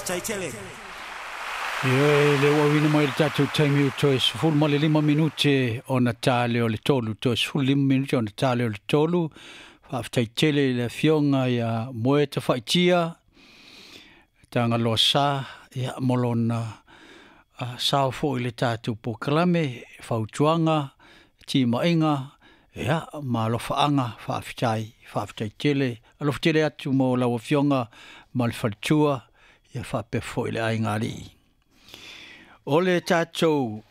Faafetai tele. Ioe, le ua auina mai le tatou taimi ua toe 15 minute ona ta lea o le tolu, toe 15 minute ona ta lea o le tolu. Faafetai tele i le afioga ia Moe Tafaitia, Tagaloa Sa, ia, mo lona sao foi i le tatou polokalame, fautuaga, timaiga, ia, ma alofaaga. Faafetai, faafetai tele. Alofa tele atu mo lau afioga ma le faletua, ia faapea foi le aiga alii. O le tatou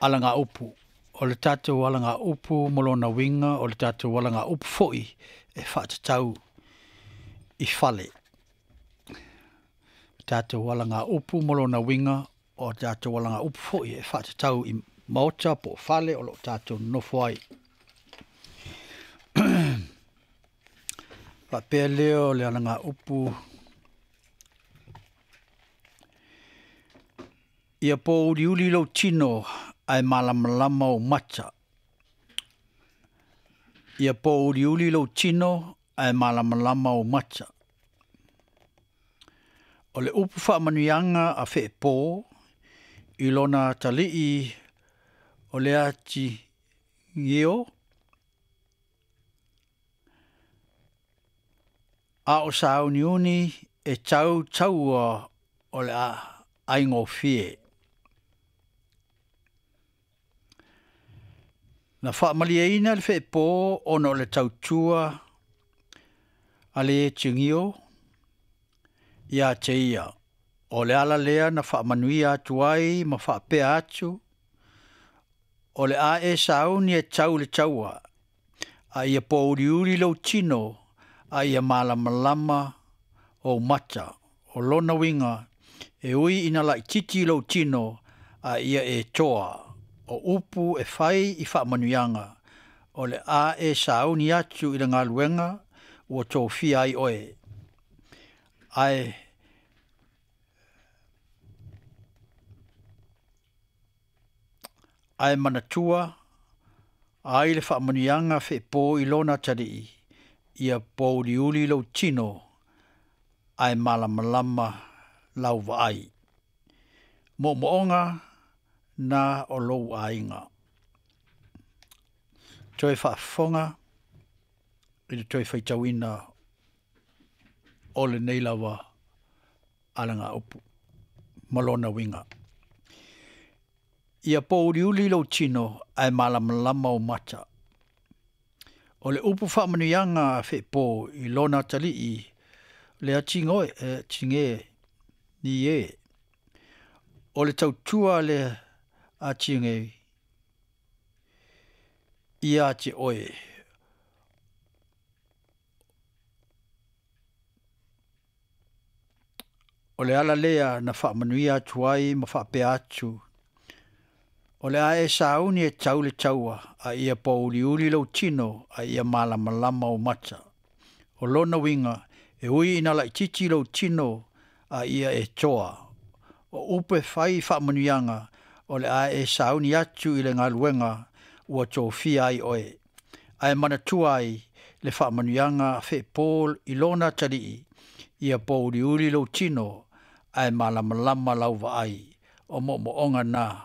alagaupu, o le tatou alagaupu mo lona uiga, o le tatou alagaupu foi e faatatau i fale. O tatou alagaupu mo lona uiga, o tatou alagaupu foi e faatatau i maota po o fale o lo o tatou nonofo ai. Faapea lea o le alagaupu, ia pōuliuli lou tino ae malamalama ou mata. Ia pōuliuli lou tino ae malamalama ou mata. O le upu faamanuiaga a Feepo i lona atalii o le atigeo a o sauniuni e tau taua o le aigofie. Na faamalieina le Feepo ona o le tautua a le atigeo ia te ia. O le ala lea na faamanuia atu ai ma faapea atu, o le a e sauni e tau le taua, a ia pōuliuli lou tino, a ia malamalama ou mata. O lona uiga, e ui ina laititi lou tino, a ia e toa. O upu e fai i faamanuiaga, o le a e sauni atu i le galuega ua tofia ai oe. Ae ae manatua ai le faamanuiaga Feepo i lona atalii, ia pōuliuli lou tino, ae malamalama lau vaai. Moomooga na o lou aiga. Toe faafofoga i le toe faitauina o lenei lava alagaupu ma lona uiga. Ia pōuliuli lou tino ae malamalama ou mata. O le upu faamanuiaga a Feepo i lona atalii le atigoe tige ni e. O le tautua le atige ia te oe. O le ala lea na faamanuia atu ai ma faapea atu, o le a e sauni e tau le taua, a ia pōuliuli lou tino, a ia malamalama ou mata. O lona uiga, e ui ina laititi lou tino, a ia e toa. O upu e fai i faamanuiaga, o le a e sauni atu i le galuega ua tofia ai oe. Ae manatua ai le faamanuiaga a Feepo i lona atalii, ia pōuliuli lou tino, ae malamalama lau vaai. O moomooga na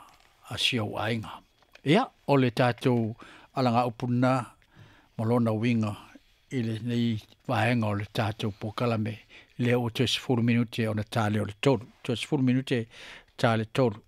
a si ou aiga. Ia, o le tatou alagaupu na ma lona uiga i lenei vaega o le tatou polokalame lea ua toe 10 minute ona ta lea o le tolu. Toe 10 minute ta le tolu.